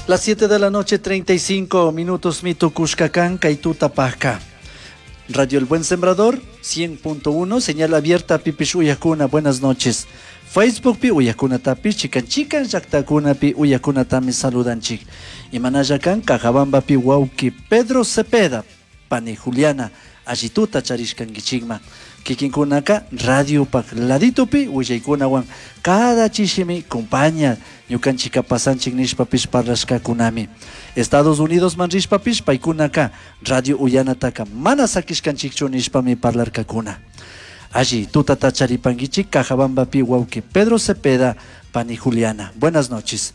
Las 7 de la noche, 35 minutos, mitukushka kan kay tutapajka. Radio El Buen Sembrador, 100.1, señal abierta, pipish uyajcuna, buenas noches. Facebook pi uyajcunatapish, chican chican llajtacunapi uyajcunatami saludanchik. Imanalla kan Cajabambapi wauki Pedro Cepeda, pani Juliana, allituta charishkankichikman. Kikinkunaka radiopak laditopi willaykunawan cada chishimi compaña ñukanchika pasanchik nishpapish parlashkakunami. Estados Unidos man rishpapish paykunaka radio uyanataka mana sakishkanchikchu nishpami parlarkakuna. Alli tutata charipankichik Cajabambapi wauki Pedro Cepeda, pani Juliana. Buenas noches.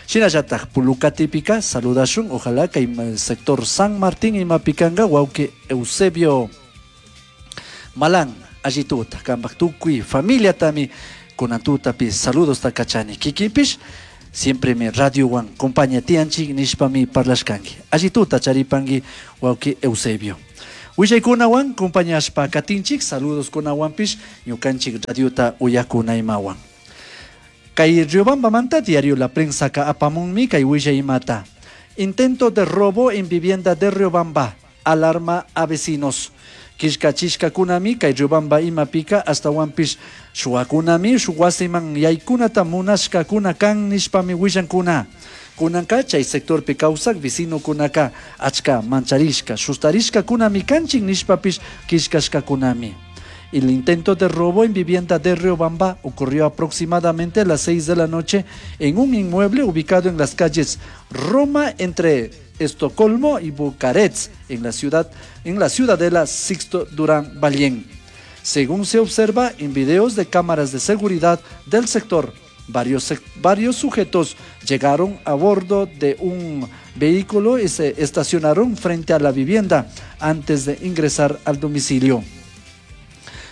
Shinallatak Pulucatipika saludashun, ojalá kay sector San Martín imapikanga wauki Eusebio Malan, allituta, kampak tukuy familiatami kunan tutapi saludos kachani. Kikinpish siempre mi radiowan compañía tianchik nishpami parlashkanki. Allituta charipanki wauki Eusebio. Willaykunawan compañashpa katinchik, saludos kunawanpish ñukanchik radiota uyakuna imawan. Kay Riobambamanta diario La Prensa ka apamunmi kay willay imata. Intento de robo en vivienda de Riobamba. Alarma a vecinos. Killkachishkakunami kay Riobamba imapika ashtawanpish shuwakunami shuk wasiman yaykunata munashkakuna kan nishpami willankuna. Kunanka chay sectorpi kawsak vecinokunaka achka mancharishka sustarishkakunami kanchik nishpapish killkashkakunami. El intento de robo en vivienda de Riobamba ocurrió aproximadamente a las 6 de la noche en un inmueble ubicado en las calles Roma entre Estocolmo y Bucarest, en la ciudadela Sixto Durán Ballén. Según se observa en videos de cámaras de seguridad del sector, varios sujetos llegaron a bordo de un vehículo y se estacionaron frente a la vivienda antes de ingresar al domicilio.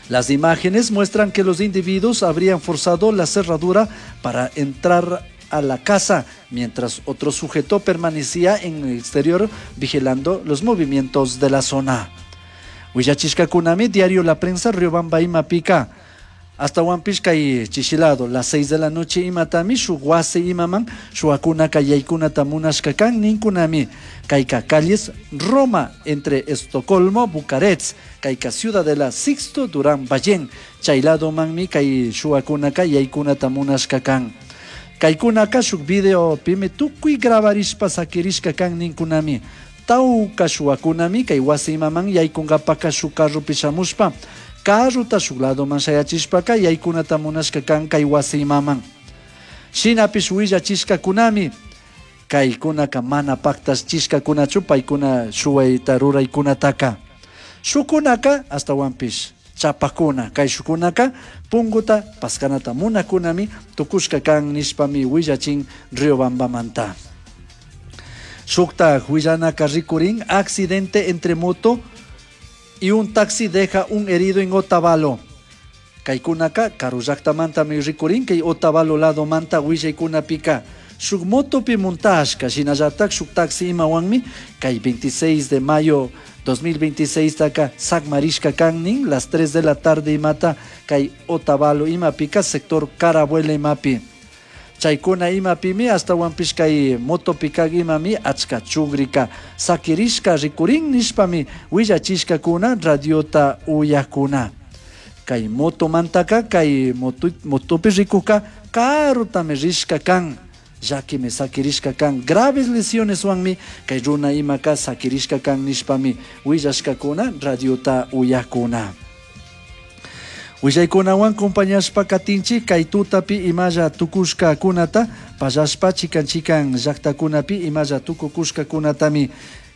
Las imágenes muestran que los individuos habrían forzado la cerradura para entrar a la casa, mientras otro sujeto permanecía en el exterior vigilando los movimientos de la zona. Willachishkakunami, diario La Prensa, Riobamba imapika. Ashtawanpish kay chishilado, las 6 de la noche imatami, shuk wasi imaman, shuwakunaka yaykunata munashka kan ninkunami. Kayka calles Roma entre Estocolmo, Bucarest, kayka Ciudadela Sixto Durán Ballén, chaylado manmi kay shuwakunaka yaykunata munashka kan. Kaykunaka shuk video pimi tukuy grabarishpa sakirishka kan ninkunami. Tawka shuwakunami kay wasi imaman yaykunkapaka shuk carropi shamushpa, carrota shuk ladoman shayachishpaka yaykunata munashka kan kay wasi imaman. Shinapish willachishkakunami kaykunaka mana paktachishkakunachu paykuna shuwayta ruraykunataka. Shukunaka ashtawanpish chapakuna kay shukunaka punguta paskanata munakunami tukushka kan nishpami willachin Riobambamanta. Shukta willanaka rikurin accidente entre moto y un taxi deja un herido en Otavalo. Kaykunaka karu llaktamantami rikurin kay Otavalo lado manta willaykunapika. Shuk motopi montashka shinallatak shuk taxi imawanmi kay 26 de mayo 2026 taka sakmarishka kan las 3 de la tarde imata kay Otavalo imapika sector Carabuela imapi. Chaykuna imapimi ashtawanpish kay motopika imami achka chugrika sakirishka rikurin nishpami willachishkakuna radiota uyakuna. Kay motomantaka kay motopi rikuka karutami rishka kan. Llakimi sakirishka kan graves lesiones wanmi kay runa imaka sakirishka kan nishpami willashkakuna radiota uyakuna. Willaykunawan compañashpa katinchik kay tutapi imalla tukushkakunata pallashpa chikan chikan llaktakunapi imalla tukukushkakunatami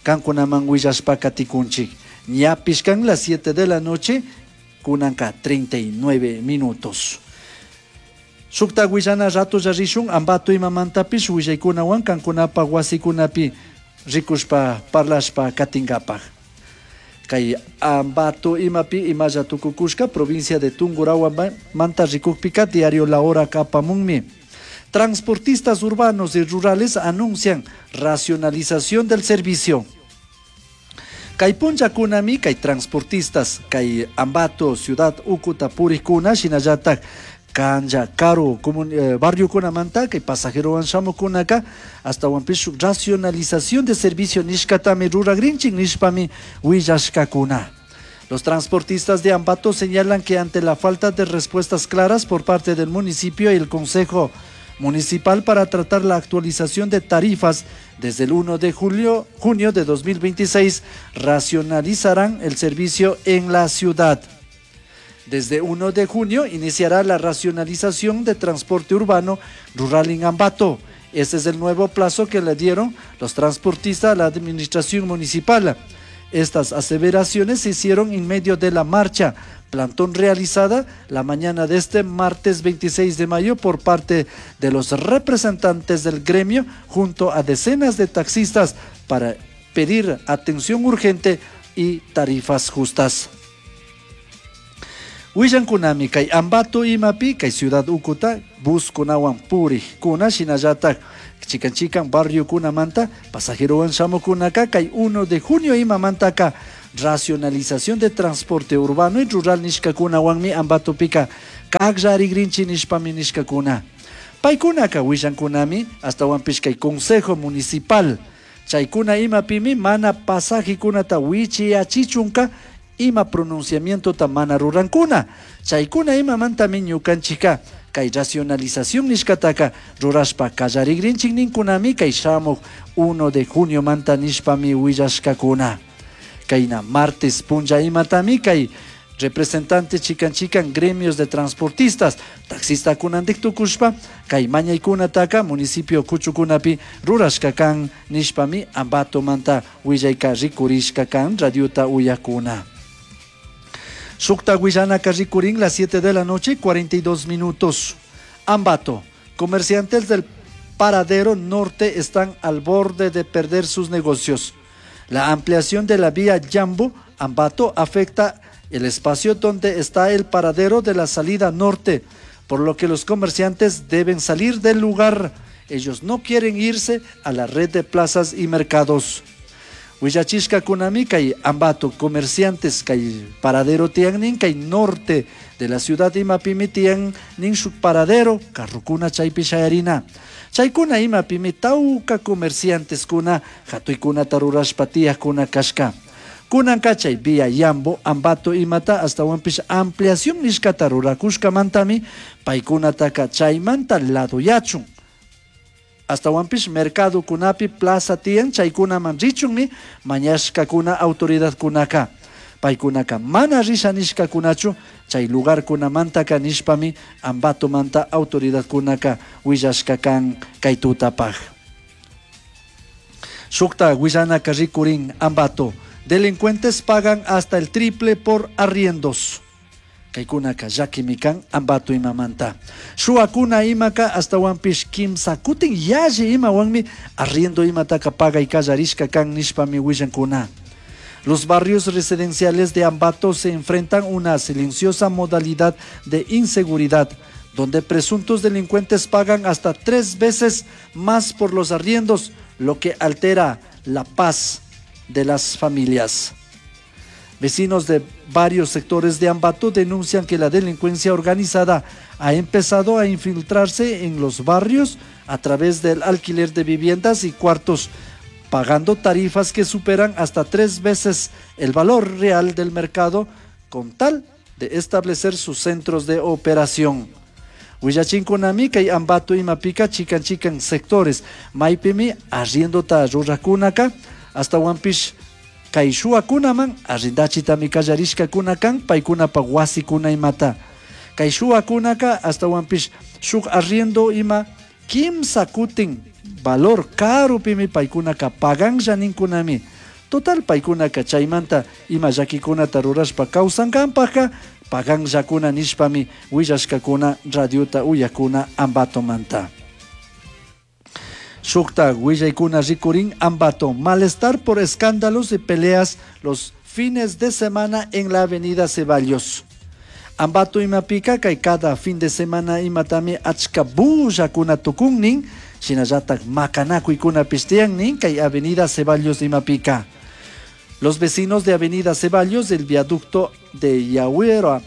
kankunaman willashpa katikunchik. Ñapish kan las 7 de la noche kunanka 39 minutos. Shukta willana rato rishun Ambato imamantapish willaykunawan kankunapa wasikunapi rikushpa parlashpa katinkapaj. Kay Ambato imapi imalla tukukushka provincia de Tungurahua manta rikukpika diario La Hora kapamunmi. Transportistas urbanos y rurales anuncian racionalización del servicio. Kay punllakunami kay transportistas kay Ambato ciudad ukuta purikuna shinallatak Canlla karu barriokunamanta kay pasajerowan shamukunaka ashtawanpish shuk racionalización de servicio nishkatami ruragrinchik nishpami willashkakuna. Los transportistas de Ambato señalan que ante la falta de respuestas claras por parte del municipio y el Consejo Municipal para tratar la actualización de tarifas desde el 1 de junio de 2026, racionalizarán el servicio en la ciudad. Desde 1 de junio iniciará la racionalización de transporte urbano rural en Ambato. Este es el nuevo plazo que le dieron los transportistas a la administración municipal. Estas aseveraciones se hicieron en medio de la marcha plantón realizada la mañana de este martes 26 de mayo por parte de los representantes del gremio junto a decenas de taxistas para pedir atención urgente y tarifas justas. Willankunami kay Ambato imapi kay ciudad ukuta buskunawan purikkuna shinallatak chikan chikan barriokunamanta pasajerowan shamukunaka kay 1 de junio imamantaka racionalización de transporte urbano y rural nishkakunawanmi Ambatopika kakllarigrinchi nishpami nishkakuna. Paykunaka willankunami ashtawanpish kay Consejo Municipal chaykuna imapimi mana pasajekunata wichiyachichunka ima pronunciamientota mana rurankuna. Chaykuna imamantami ñukanchika kay racionalización nishkataka rurashpa kallarigrinchik ninkunami kay shamuj 1 de junio manta nishpami willashkakuna. Kayna martes punlla imatami kay representante chikan chikan gremios de transportistas taxistakunantik tukushpa kay mañaykunataka municipio kuchukunapi rurashka kan nishpami Ambatomanta willayka rikurishka kan radiota uyakuna. Shukta willanaka rikurin las 7 de la noche 42 minutos. Ambato, comerciantes del paradero norte están al borde de perder sus negocios. La ampliación de la vía Yambo, Ambato, afecta el espacio donde está el paradero de la salida norte, por lo que los comerciantes deben salir del lugar. Ellos no quieren irse a la red de plazas y mercados. Willachishkakunami kay Ambato comerciantes kay paradero tiyan kay norte de la ciudad imapimi tiyan nin shuk paradero carrukuna chaypi shayarina. Chaykuna imapimi tawka comercianteskuna hatuykunata rurashpa tiyakuna kashka. Kunanka chay vía Yambo, Ambato imata ashtawanpish ampliación nishkata rurakushkamantami paykunataka chaymanta ladoyachun. Ashtawanpish mercadokunapi plaza tiyan chaykunaman richunmi mañashkakuna autoridadkunaka. Paykunaka mana risha nishkakunachu chay lugarkunamantaka nishpami Ambatomanta autoridadkunaka willashka kan kay tutapaj. Shukta willanaka rikurin Ambato. Delincuentes pagan hasta el triple por arriendos. Kaykunaka llakimi kan Ambato imamanta. Shuwakuna imaka ashtawanpish kimsa kutin yalli imawanmi arriendo imataka pagay kallarishka kan nishpami willankuna. Los barrios residenciales de Ambato se enfrentan una silenciosa modalidad de inseguridad, donde presuntos delincuentes pagan hasta 3 veces más por los arriendos, lo que altera la paz de las familias. Vecinos de varios sectores de Ambato denuncian que la delincuencia organizada ha empezado a infiltrarse en los barrios a través del alquiler de viviendas y cuartos, pagando tarifas que superan hasta 3 veces el valor real del mercado con tal de establecer sus centros de operación. Willachinkunami kay Ambato imapika chikan chikan sectores maypimi arriendota rurakunaka ashtawanpish kay shuwakunaman arrendachitami kallarishkakuna kan paykunapa wasikuna imata. Kay shuwakunaka ashtawanpish shuk arriendo ima kimsa kutin valor karupimi paykunaka paganlla ninkunami. Total paykunaka chaymanta ima llakikunata rurashpa kawsankanpajka paganllakuna nishpami willashkakuna radiota uyakuna Ambatomanta. Shukta willaykuna rikurin Ambato. Malestar por escándalos y peleas los fines de semana en la avenida Ceballos. Ambato imapika kay cada fin de semana imatami achka bullakuna tukunnin, shinallatak makanakuykuna tiyannin kay avenida Ceballos imapika. Los vecinos de avenida Ceballos del viaducto de Yahuera,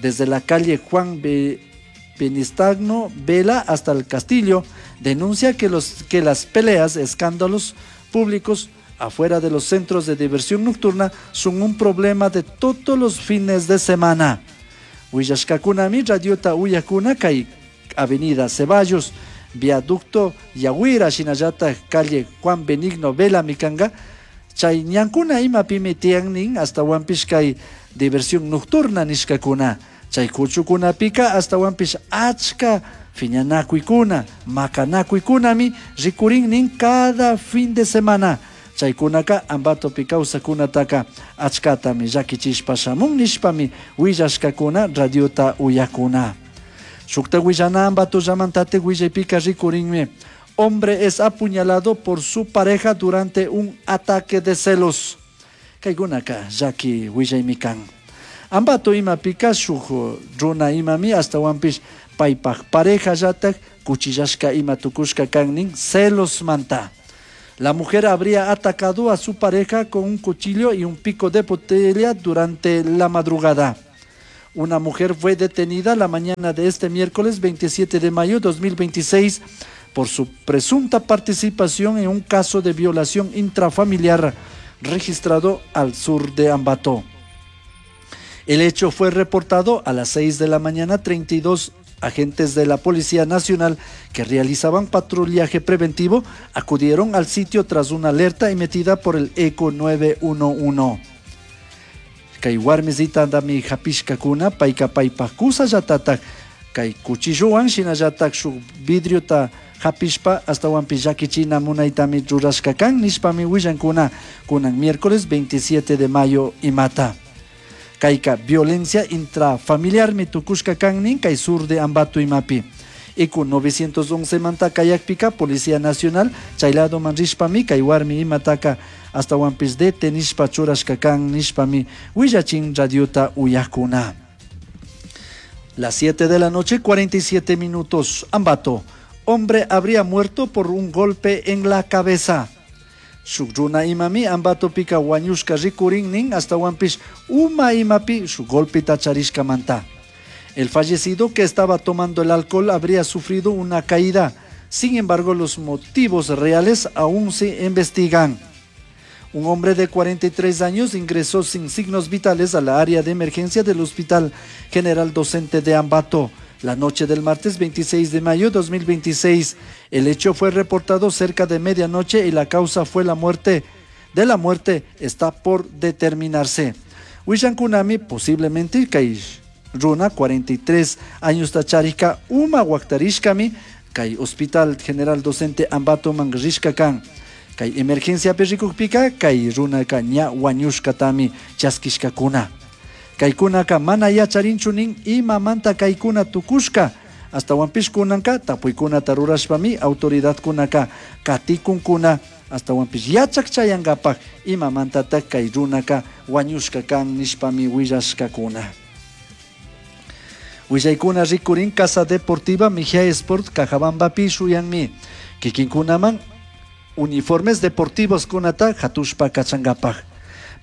desde la calle Juan Penistagno Vela hasta el Castillo denuncia que, los, que las peleas, escándalos públicos afuera de los centros de diversión nocturna son un problema de todos los fines de semana. Willashkakunami radiota uyakuna kay Avenida Ceballos, Viaducto Yahuira, shinallatak calle Juan Benigno Vela mikanga, chay ñankuna imapimi tiyan nin astawanpish kay diversión nocturna nishkakuna. Chay kuchukunapika astawanpish achka fiñanakuykuna, makanakuykunami rikurin nin cada fin de semana. Chaykunaka Ambatopi kawsakunataka achkatami llakichishpa shamun nishpami willashkakuna radiota uyakuna. Shukta willana Ambato llamantate willaypika rikurinmi. Hombre es apuñalado por su pareja durante un ataque de celos. Kaykunaka llaki willaymi kan. Ambato imapika shuk runa imami astawanpish paypaj pareja llatak cuchillashka ima tukushka kan nin celos manta. La mujer habría atacado a su pareja con un cuchillo y un pico de botella durante la madrugada. Una mujer fue detenida la mañana de este miércoles 27 de mayo de 2026 por su presunta participación en un caso de violación intrafamiliar registrado al sur de Ambato. El hecho fue reportado a las 6 de la mañana. 32 agentes de la Policía Nacional que realizaban patrullaje preventivo acudieron al sitio tras una alerta emitida por el ECO 911. Kay warmisitandami hapishkakuna, payka paypaj kusallatataj kay cuchillowan shinallatak shuk vidriota hapishpa astawanpish llakichina munaytami rurashka kan nishpami willankuna kunan miércoles 27 de mayo imata. Kayka violencia intrafamiliarmi tukushka kan nin kay sur de Ambato imapi. ECO 911 manta kayakpika Policía Nacional chayladoman rishpami kay warmi imataka astawanpish detenishpa churashka kan nishpami willachin radiota uyakuna. Las 7 de la noche, 47 minutos. Ambato. Hombre habría muerto por un golpe en la cabeza. Shuk runa imami Ambatopika wañushka rikurin nin astawanpish uma imapi shuk golpeta charishkamanta. El fallecido, que estaba tomando el alcohol, habría sufrido una caída. Sin embargo, los motivos reales aún se investigan. Un hombre de 43 años ingresó sin signos vitales a la área de emergencia del Hospital General Docente de Ambato la noche del martes 26 de mayo de 2026. El hecho fue reportado cerca de medianoche y la causa fue la muerte de la muerte está por determinarse. Willankunami posiblemente kay runa 43 años tacharika uma waktarishkami kay Hospital General Docente Ambato man rishka kan. Kay emergencia rikukpika kay runaka ña wañushkatami chaskishkakuna. Kaykunaka mana yacharinchu nin imamanta kaykuna tukushka. Astawanpish kunanka tapuykunata rurashpami autoridadkunaka katikunkuna astawanpish yachak chayankapak imamantatak kay runaka wañushka kan nishpami willashkakuna. Willaykuna rikurin Casa Deportiva Mejía Sport Cajabambapi shuyanmi. Kikinkunaman uniformes deportivos kunata hatushpa kachankapak.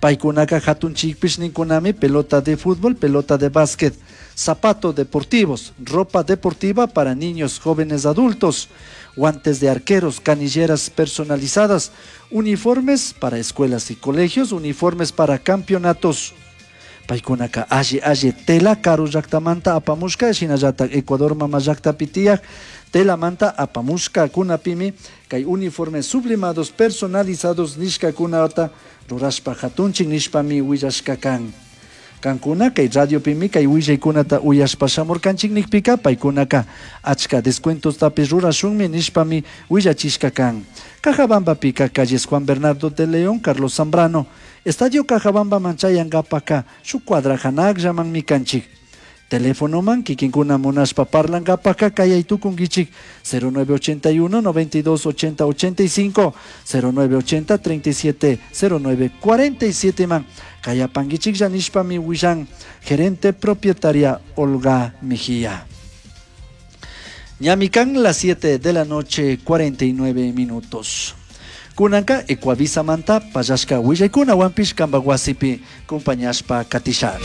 Paykunaka hatunchikpish ninkunami pelota de fútbol, pelota de básquet, zapatos deportivos, ropa deportiva para niños, jóvenes, adultos, guantes de arqueros, canilleras personalizadas, uniformes para escuelas y colegios, uniformes para campeonatos. Paykunaka alli alli tela karu llaktamanta apamushka, shinallatak Ecuador mama llaktapi tiyak telamanta apamushka kunapimi kay uniformes sublimados personalizados nishkakunata rurashpa hatunchin nishpami willashka kan. Kankuna kay radiopimi kay willaykunata uyashpa shamurkanchik nikpika paykunaka achka descuentostapish rurashunmi nishpami willachishka kan. Cajabambapika calles Juan Bernardo de León, Carlos Zambrano, Estadio Cajabamba man chayankapaka shuk cuadra hanakllamanmi kanchik. Telefonoman kikinkuna munashpa parlankapaka kayay tukunkichik 0981 92 80 85, 0980 37 09 47 man kayapankichik nishpami willan gerente propietaria Olga Mejía. Ñami kan las 7 de la noche 49 minutos. Kunanka Ecuavisa manta pallashka willaykunawanpish kanpak wasipi kumpañashpa katisha.